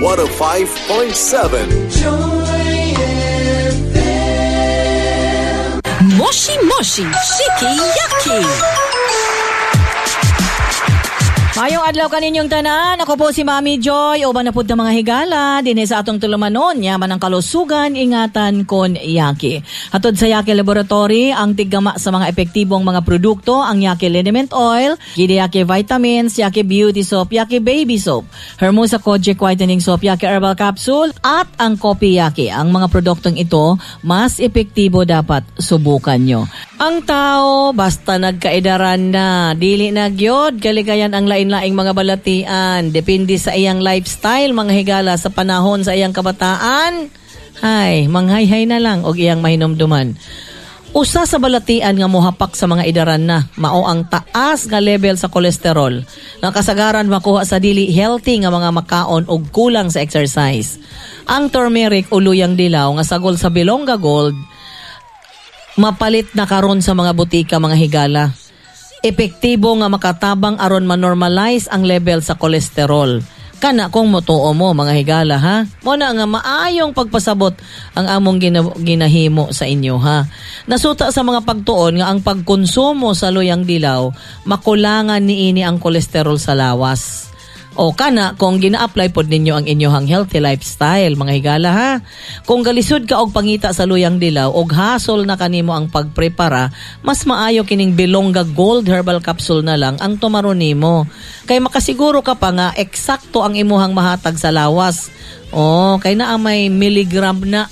105.7. Moshi Moshi Shiki Yaki. Mayong adlaw kaninyong tanan. Ako po si Mami Joy. Uban na pud ta, mga higala dinhi sa atong tulumanon. Yaman ang kalusugan, ingatan kon Yaki. Hatod sa Yaki Laboratory, ang tiggama sa mga epektibong mga produkto, ang Yaki Liniment Oil, Gidi Yaki Vitamins, Yaki Beauty Soap, Yaki Baby Soap, Hermosa Kojic Whitening Soap, Yaki Herbal Capsule, at ang Kopi Yaki. Ang mga produktong ito, mas epektibo, dapat subukan nyo. Ang tao, basta nagkaedaran na, dili na gyud kalikayan ang lain-laing mga balatian. Depende sa iyang lifestyle, mga higala, sa panahon sa iyang kabataan. Hay, manghayhay na lang og iyang mahinumduman. Usa sa balatian nga mohapak sa mga idaran na, mao ang taas nga level sa kolesterol nga kasagaran makuha sa dili healthy nga mga makaon og kulang sa exercise. Ang turmeric o luyang dilaw nga sagol sa Bilongga Gold mapalit na karon sa mga butika, mga higala. Epektibo nga makatabang aron manormalize ang level sa kolesterol. Kana kung motuo mo, mga higala, ha. Mo na nga maayong pagpasabot ang among ginahimo sa inyo, ha. Nasuta sa mga pagtuon nga ang pagkonsumo sa luyang dilaw makulangan niini ang kolesterol sa lawas. O kana kung gina-apply pod ninyo ang inyong healthy lifestyle, mga higala, ha. Kung galisod ka og pangita sa luyang dilaw og hasol na kanimo ang pagprepara, mas maayo kining Bilongga Gold Herbal Capsule na lang ang tumaron nimo. Kay makasiguro ka pa nga eksakto ang imuhang mahatag sa lawas. O kay naa may milligram na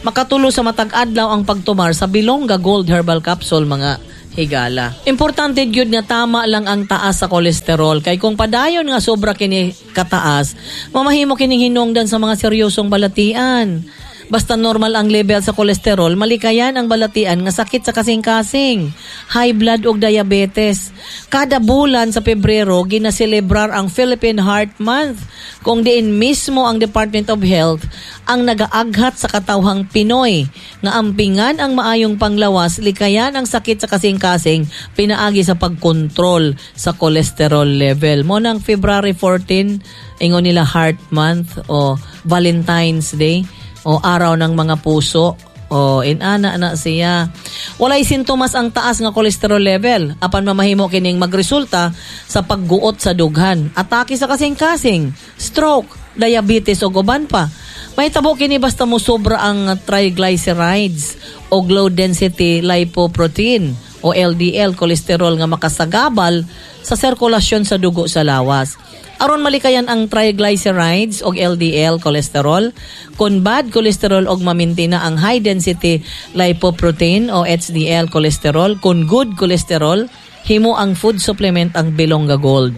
makatulo sa matag adlaw ang pagtumar sa Bilongga Gold Herbal Capsule, mga higala. Importante gyud nga tama lang ang taas sa kolesterol kay kung padayon nga sobra kini kataas, mamahimo kining hinungdan sa mga seryosong balatian. Basta normal ang level sa kolesterol, malikayan ang balatian nga sakit sa kasing-kasing, high blood ug diabetes. Kada bulan sa Pebrero, ginaselebrar ang Philippine Heart Month, kung diin mismo ang Department of Health ang nagaaghat sa katawhang Pinoy nga ampingan ang maayong panglawas, likayan ang sakit sa kasing-kasing pinaagi sa pagkontrol sa cholesterol level. Mo nang February 14, ingon nila Heart Month o Valentine's Day o araw ng mga puso. O inana na siya. Walay sintomas ang taas nga cholesterol level apan mamahimo kining magresulta sa pagguot sa dughan, atake sa kasing-kasing, stroke, diabetes ug uban pa. Mahitabo kini basta mo sobra ang triglycerides o low density lipoprotein o LDL cholesterol nga makasagabal sa sirkulasyon sa dugo sa lawas. Aron malikayan ang triglycerides o LDL cholesterol, kung bad cholesterol og mamintina ang high density lipoprotein o HDL cholesterol, kung good cholesterol, himo ang food supplement ang Bilongga Gold.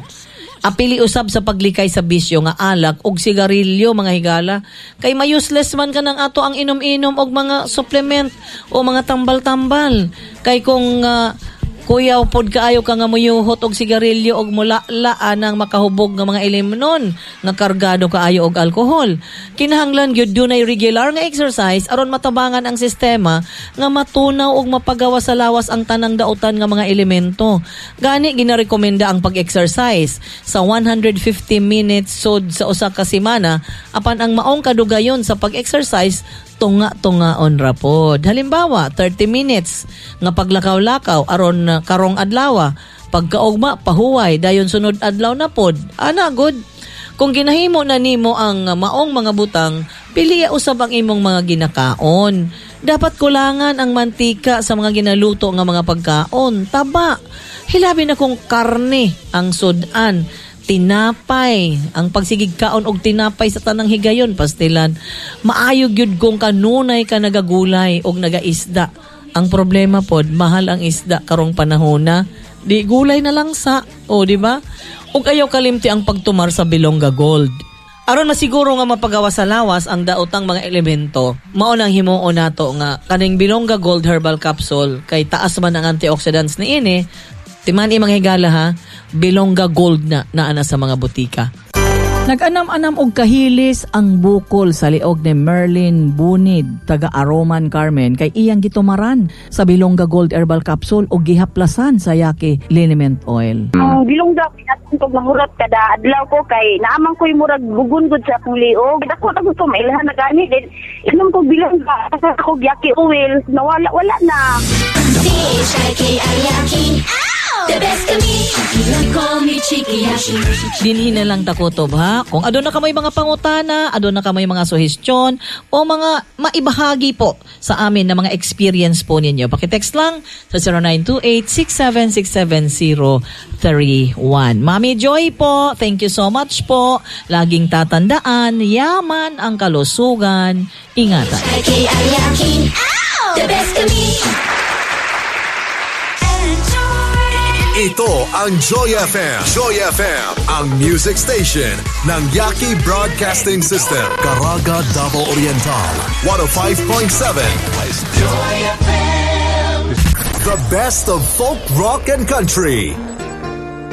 Apili usab sa paglikay sa bisyo nga alak og sigarilyo, mga higala, kay ma-useless man ka ng ato ang inom-inom og mga supplement o mga tambal-tambal. Kay kung kuyaw pod kaayo ka nga muyuhot og sigarilyo og mulala anang makahubog nga mga ilimnon nga kargado kaayo og alkohol. Kinahanglan gyud dunay regular nga exercise aron matabangan ang sistema nga matunaw og mapagawa sa lawas ang tanang dautan nga mga elemento. Gani ginarekomenda ang pag-exercise sa 150 minutes sod sa usa ka semana, apan ang maong kadugayon sa pag-exercise tunga-tungaon ra pod. Halimbawa, 30 minutes nga paglakaw-lakaw aron karong adlaw, pagkaugma pahuway, dayon sunod adlaw na pod. Ana good. Kung ginahimo na nimo ang maong mga butang, piliya usab ang imong mga ginakaon. Dapat kulangan ang mantika sa mga ginaluto nga mga pagkaon, taba. Hilabi na kung karne ang sudan, tinapay, ang pagsigig kaon og tinapay sa tanang higayon, pastilan. Maayo gyud kung kanunay ka nagagulay og nagaisda. Ang problema pod, mahal ang isda karong panahona. Di gulay na lang sa, o di ba? Ug ayaw kalimti ang pagtumar sa Bilongga Gold. Aron masiguro nga mapagawa sa lawas ang daotang mga elemento, mao nang himuon nato nga kaning Bilongga Gold Herbal Capsule kay taas man ang antioxidants niini. Timan mga higala ha, Bilongga Gold na naa na sa mga butika. Nag-anam-anam og kahilis ang bukol sa liog ni Merlin Bunid, taga Aroman, Carmen, kay iyang gitumaran sa Bilongga Gold Herbal Capsule og gihaplasan sa Yaki Liniment Oil. Ang bilongga pinatong kog nanghurat kada adlaw ko kay naaman ko'y murag bugon gud sa akong liog. Dako na gusto mailhan na gani din. Inom ko bilongga sa ako yaki oil, nawala, wala na. C-H-I-K-I-Y-A-K-I. The best kami. You call me Chikiyashi. Dinhi na lang takutob ha. Kung aduna ka may mga pangutana, aduna ka may mga suhestyon o mga maibahagi po sa amin na mga experience po ninyo. Paki-text lang sa 0928-6767031. Mami Joy po, thank you so much po. Laging tatandaan, yaman ang kalusugan. Ingatan. K-I-Y-A-K-I. The best kami. Ito ang Joy FM. Joy FM, ang music station ng Yaki Broadcasting System. Caraga, Davao Oriental, 105.7. Joy FM. The best of folk, rock, and country.